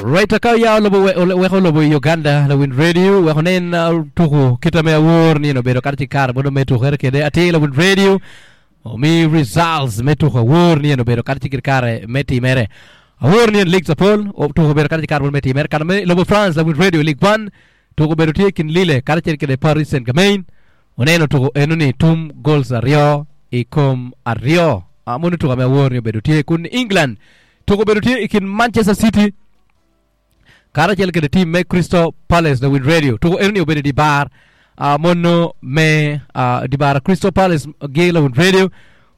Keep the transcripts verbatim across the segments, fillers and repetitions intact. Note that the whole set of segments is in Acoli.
Right ka ya lobo weko lobo i Uganda lawiny radio weko nen tuku kita me awor ni obedo kata ci kare mono me tukere kede atir lawiny radio omi results me tuku awor ni obedo kata ci kare me timere awor ni league apol tuku obedo kata ci kare mono me timere kana me lobo France lawiny radio League One tuku obedo tye kin Lille kata cel kede Paris Saint-Germain oneno tuku enoni tum goals aryo i kom aryo mono tuku me awor ni obedo tye kun England tuku obedo tye i kin Manchester City kata acel kede team me Crystal Palace lawiny radio tuku enoni obedo di bar uh, mono me uh, di bar Crystal Palace gi lawiny radio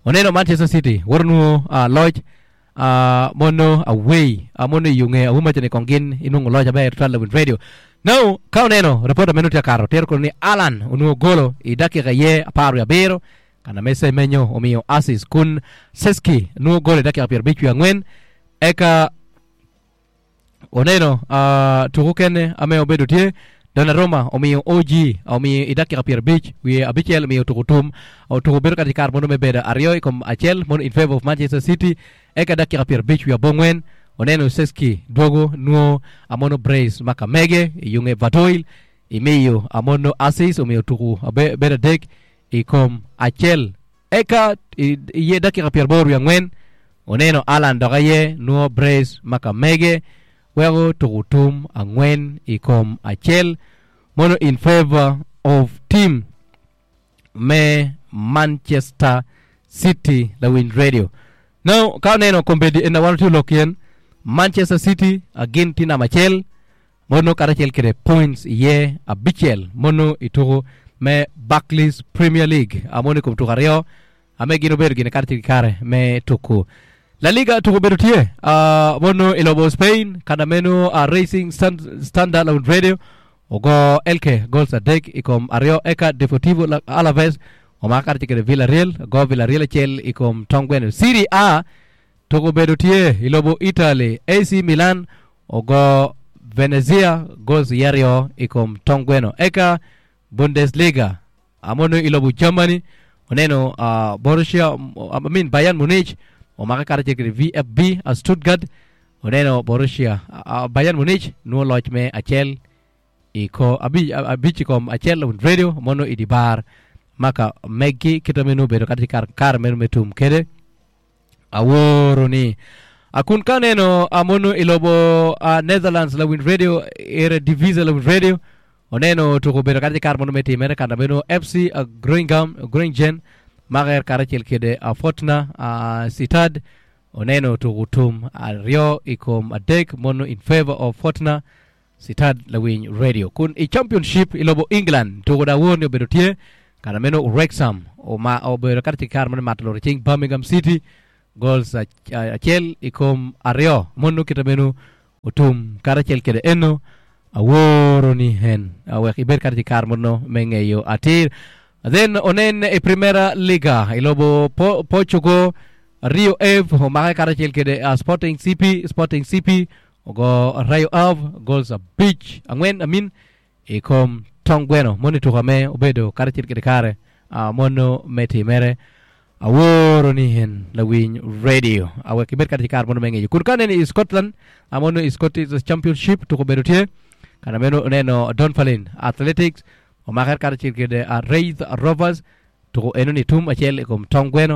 oneno Manchester City woto nuo uh, loc uh, mono away uh, mono iyunge awuma chene kong gin inungo loc aber twal lawiny radio now ka oneno reporter meno tye kato tero kono ni Alan onuo golo i dakika ye apar wiye abiro kana me Semenyo omiyo assist kun Seski nuo golo i dakika piero abic wiye angwen eka oneno uh, tuku kene ame obedo tye Donnarumma omiyo O G omiyo i dakika piero abic wiye abicel omiyo tuku tum tuku bedo kata kare mono me bedo aryo i kom acel mono in favor of Manchester City eka dakika piero abic wiye abongwen oneno Seski dwogo nuo amono brace ma kamege iyunge Gvardiol imiyo amono assist omiyo tuku bedo adek i kom acel eka iye dakika piero aboro wiye angwen oneno Alan dok aye nuo brace ma kamege weko tuku tum angwen i kom acel mono in favor of team me Manchester City lawiny radio now ka oneno kombedi en wan tye lok yen Manchester City agin tye namba acel mono kata acel kede points iye abicel mono i tuku me Barclays Premier League mono i kom tuku aryo ame gin obedo gine kata ki kare me tuku La Liga tuku obedo tye uh, mono i lobo Spain kana meno uh, Racing Stand, Standard Lawiny Radio ogo Elche goals adek i kom aryo eka Deportivo Alaves omako kata kede Villarreal go Villarreal acel i kom tong gweno Serie A tuku obedo tye i lobo Italy A C Milan ogo Venezia goals iye aryo i kom tong gweno eka Bundesliga amono i lobo Germany oneno uh, Borussia I mean Bayern Munich omako kata kede V F B uh, Stuttgart oneno Borussia uh, Bayern Munich nuo loc me acel i ko abic abic i kom acel radio mono i di bar maka megi kita meno obedo kata kar kare meno me tum kede aworo ni akun ka neno amono i lobo uh, Netherlands lawiny radio Eredivisie lawiny radio oneno tuku obedo kata kare mono me timere kana meno F C uh, Groningen Groningen maker kata acel kede uh, Fortuna uh, Sittard oneno tuku tum aryo i kom adek mono in favor of Fortuna Sittard lawiny radio kun i championship i lobo England tuku da wor ni obedo tye kana meno Wrexham oma obedo kata kare mono mato loro cing Birmingham City goals acel i kom aryo mono kita meno otum kata acel kede eno aworo ni hen wek ibed kata kare mono me ng'eyo atir then onen i Primera Liga i lobo po Portugal Rio Ave omake kata acel kede uh, Sporting C P Sporting C P ogo Rio Ave goals abic angwen amin i kom tong gweno mono tuka me obedo kata acel kede kare uh, mono me timere aworo ni hen lawiny radio awek ibed kata kare mono me ng'eyo kun ka neno i Scotland amono i Scottish Championship tuko obedo tye kana meno oneno Dunfermline Athletics omakere kata acel kede uh, Raith Rovers tuko eno ni tum acel i kom tong gweno.